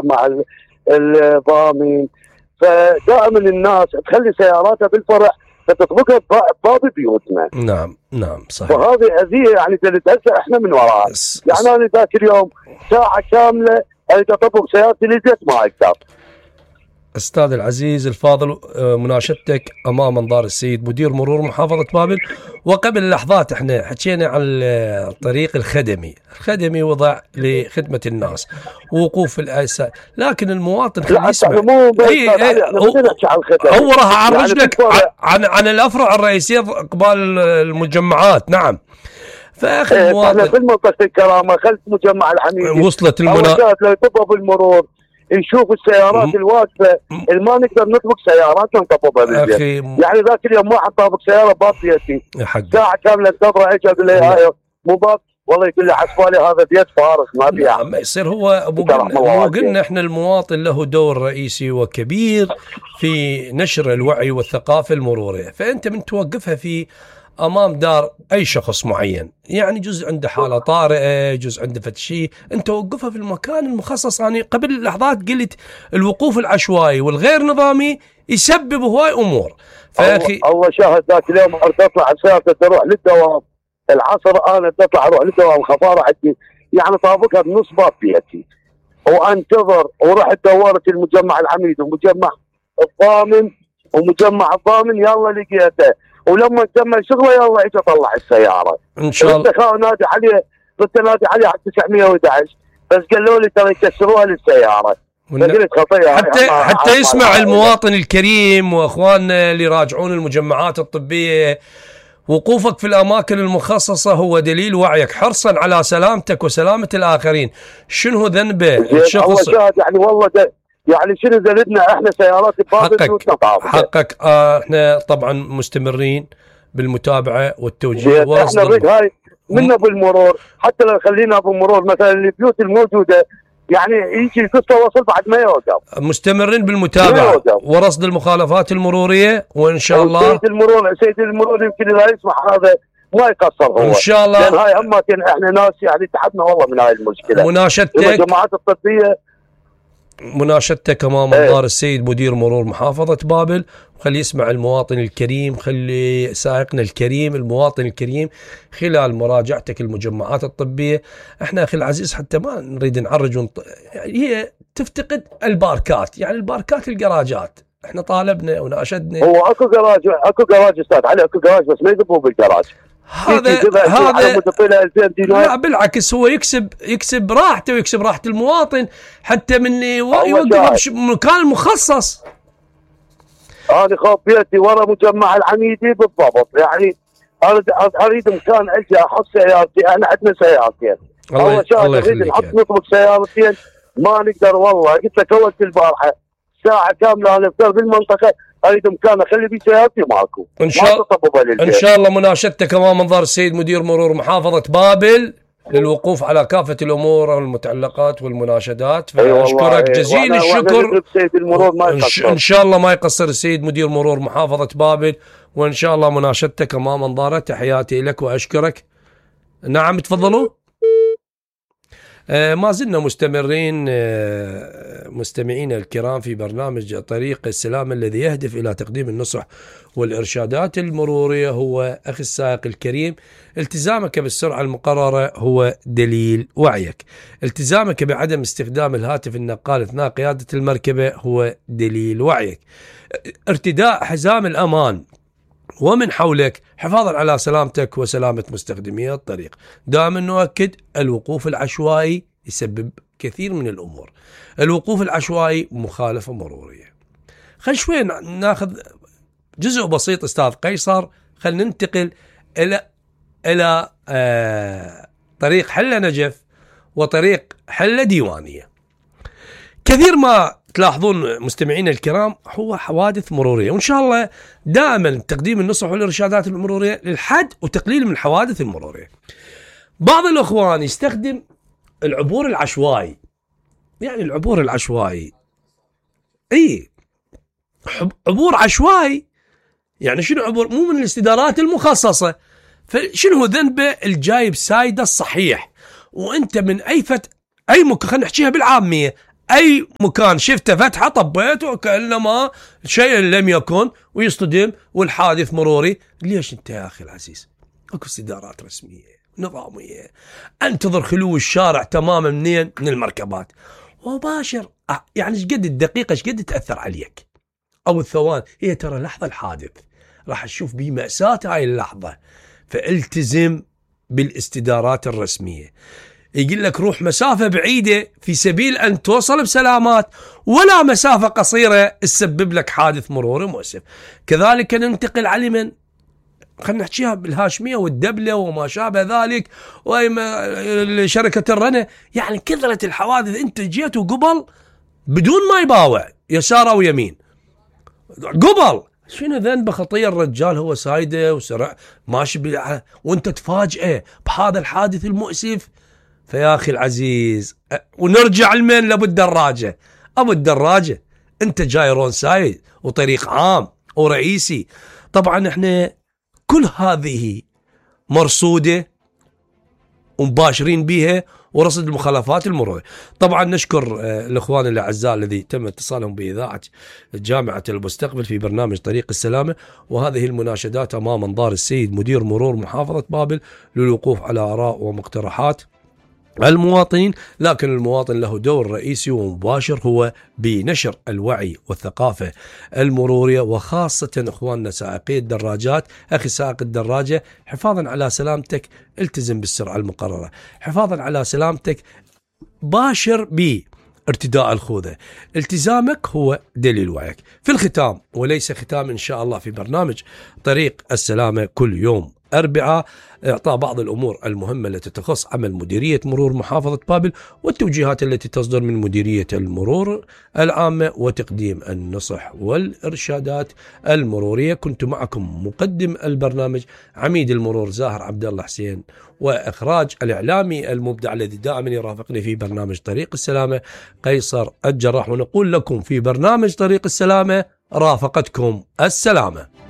مع الضامن. فدائما الناس تخلي سياراتها بالفرع فتطبقها بباب بيوتنا. نعم صحيح. وهذه أذية يعني هسه احنا من وراها. يعني انا ذاك اليوم ساعة كاملة اريد اطبق سيارتي للبيت ما اقدر. أستاذ العزيز الفاضل، مناشدتك أمام أنظار السيد مدير مرور محافظة بابل. وقبل لحظات احنا حكينا عن الطريق الخدمي وضع لخدمة الناس ووقوف الأسا، لكن المواطن خليه يسمع. هو راح أعرج لك عن الأفرع الرئيسية قبال المجمعات. نعم. فأخي المواطن في منطقة الكرامة خلف مجمع الحميدي وصلت لو يطبق بالمرور نشوف السيارات الواقفه اللي ما نقدر نطبق سياراتنا نطبقها بالبيت. يعني ذاك اليوم واحد طابق سياره باب بيتي ساعه كامله انتظر اجي اقول له هاي مو باب، والله يقول لي حسبالي هذا بيت فارغ ما فيها. ما يصير. هو مو قلنا احنا المواطن له دور رئيسي وكبير في نشر الوعي والثقافه المروريه، فانت من توقفها في امام دار اي شخص معين، يعني جزء عنده حاله طارئه، جزء عنده فتشي، انت وقفها في المكان المخصص. يعني قبل لحظات قلت الوقوف العشوائي والغير نظامي يسبب هواي امور. فاخي الله شاهد ذاك اليوم اريد اطلع سيارتي تروح للدوام العصر، انا تطلع اروح للدوام خفاره عندي يعني طابقها بنص باب بيتي وانتظر، ورحت دورت المجمع الحميد ومجمع الضامن يلا لقيته، ولما كمل شغله يلا اجى اطلع السياره. ان شاء الله نادي عليه على 911 بس قالوا لي ترى يكسروها للسياره. فقلت خطيه حتى يسمع المواطن الكريم واخواننا اللي يراجعون المجمعات الطبيه. وقوفك في الاماكن المخصصه هو دليل وعيك حرصا على سلامتك وسلامه الاخرين. شنو ذنبه الشخص؟ يعني والله يعني شنو زلدنا احنا سيارات حقك. احنا طبعا مستمرين بالمتابعه والتوجيه احنا نريد هاي منا بالمرور، حتى لو خلينا بالمرور مثلا البيوت الموجوده يعني يجي قصه وصل بعد ما يوقف. مستمرين بالمتابعه ورصد المخالفات المروريه، وان شاء الله سيد المرور يمكن لا يسمح هذا ما يقصر هو ان شاء الله، لان هاي اماكن احنا ناس يعني تعبنا والله من هاي المشكله. الجماعات الطبيه مناشدتك امام انظار السيد مدير مرور محافظة بابل، وخلي يسمع المواطن الكريم، خلي سائقنا الكريم المواطن الكريم خلال مراجعتك المجمعات الطبية. احنا اخي العزيز حتى ما نريد نعرج يعني هي تفتقد الباركات، يعني الباركات الجراجات احنا طالبنا وناشدنا. هو اكو جراج استاذ علي، اكو جراج بس ما يذبوا بالجراج. هذا لا بالعكس هو يكسب راحته ويكسب راحة المواطن حتى من يوقف مكان مخصص. أنا خوف بيتي ورا مجمع الحميدي بالضبط، يعني أريد مكان أجي أحط سيارتي، أنا عندنا سيارتين. الله أريد نحط نطبق سيارتين ما نقدر والله. قلت لك أول البارحة ساعة كاملة أنا أفتر بالمنطقة أريد مكان أخلي فيه سيارتي ماكو. إن شاء الله مناشدتك أمام منظر السيد مدير مرور محافظة بابل للوقوف على كافة الأمور المتعلقات والمناشدات. فأشكرك جزيل الشكر. إن شاء الله ما يقصر السيد مدير مرور محافظة بابل، وإن شاء الله مناشدتك أمام منظره. تحياتي لك وأشكرك. نعم تفضلوا. ما زلنا مستمرين مستمعينا الكرام في برنامج طريق السلام الذي يهدف إلى تقديم النصح والإرشادات المرورية. هو أخي السائق الكريم، التزامك بالسرعة المقررة هو دليل وعيك. التزامك بعدم استخدام الهاتف النقال أثناء قيادة المركبة هو دليل وعيك. ارتداء حزام الأمان ومن حولك حفاظا على سلامتك وسلامة مستخدمي الطريق. دائما نؤكد الوقوف العشوائي يسبب كثير من الأمور. الوقوف العشوائي مخالفة مرورية. خل شوي ناخذ جزء بسيط أستاذ قيصر، خل ننتقل إلى طريق حلة نجف وطريق حلة ديوانية. كثير ما تلاحظون مستمعين الكرام هو حوادث مرورية، وإن شاء الله دائما تقديم النصح والإرشادات المرورية للحد وتقليل من الحوادث المرورية. بعض الأخوان يستخدم العبور العشوائي، يعني العبور العشوائي عبور عشوائي، يعني شنو عبور؟ مو من الاستدارات المخصصة. فشنو ذنبه الجايب سايدة الصحيح وانت من خلينا نحكيها بالعامية، أي مكان شفته فتحة طبيته وكأنما شيء لم يكن ويصطدم والحادث مروري. ليش أنت يا أخي العزيز؟ أكو استدارات رسمية نظامية. انتظر خلو الشارع تماما منين؟ من المركبات وباشر. يعني ايش قد الدقيقة ايش قد تأثر عليك أو الثوان؟ هي ترى لحظة الحادث راح تشوف بيه مأساة هاي اللحظة. فالتزم بالاستدارات الرسمية. يقول لك روح مسافة بعيدة في سبيل أن توصل بسلامات، ولا مسافة قصيرة تسبب لك حادث مروري مؤسف. كذلك ننتقل على من خلينا نحكيها بالهاشمية والدبلة وما شابه ذلك وشركة الرنة. يعني كثرة الحوادث، انت جيت وقبل بدون ما يباوع يسار او يمين قبل. شنو ذنبه خطير الرجال؟ هو سايده وسرع ماشي وانت تفاجئه بهذا الحادث المؤسف. فيا اخي العزيز، ونرجع لمن؟ لابو الدراجة. ابو الدراجة انت جاي رون سايد وطريق عام ورئيسي. طبعا احنا كل هذه مرصودة ومباشرين بها ورصد المخالفات المرورية. طبعا نشكر الأخوان الأعزاء الذي تم اتصالهم بإذاعة جامعة المستقبل في برنامج طريق السلامة، وهذه المناشدات أمام أنظار السيد مدير مرور محافظة بابل للوقوف على آراء ومقترحات المواطنين. لكن المواطن له دور رئيسي ومباشر هو بنشر الوعي والثقافة المرورية، وخاصة اخواننا سائقي الدراجات. اخي سائق الدراجة، حفاظا على سلامتك التزم بالسرعة المقررة. حفاظا على سلامتك باشر بارتداء الخوذة. التزامك هو دليل وعيك. في الختام وليس ختام ان شاء الله في برنامج طريق السلامة كل يوم أربعاء، إعطاء بعض الأمور المهمة التي تخص عمل مديرية مرور محافظة بابل والتوجيهات التي تصدر من مديرية المرور العامة وتقديم النصح والإرشادات المرورية. كنت معكم مقدم البرنامج عميد المرور زاهر عبد الله حسين، وإخراج الإعلامي المبدع الذي دائما يرافقني في برنامج طريق السلامة قيصر الجراح. ونقول لكم في برنامج طريق السلامة رافقتكم السلامة.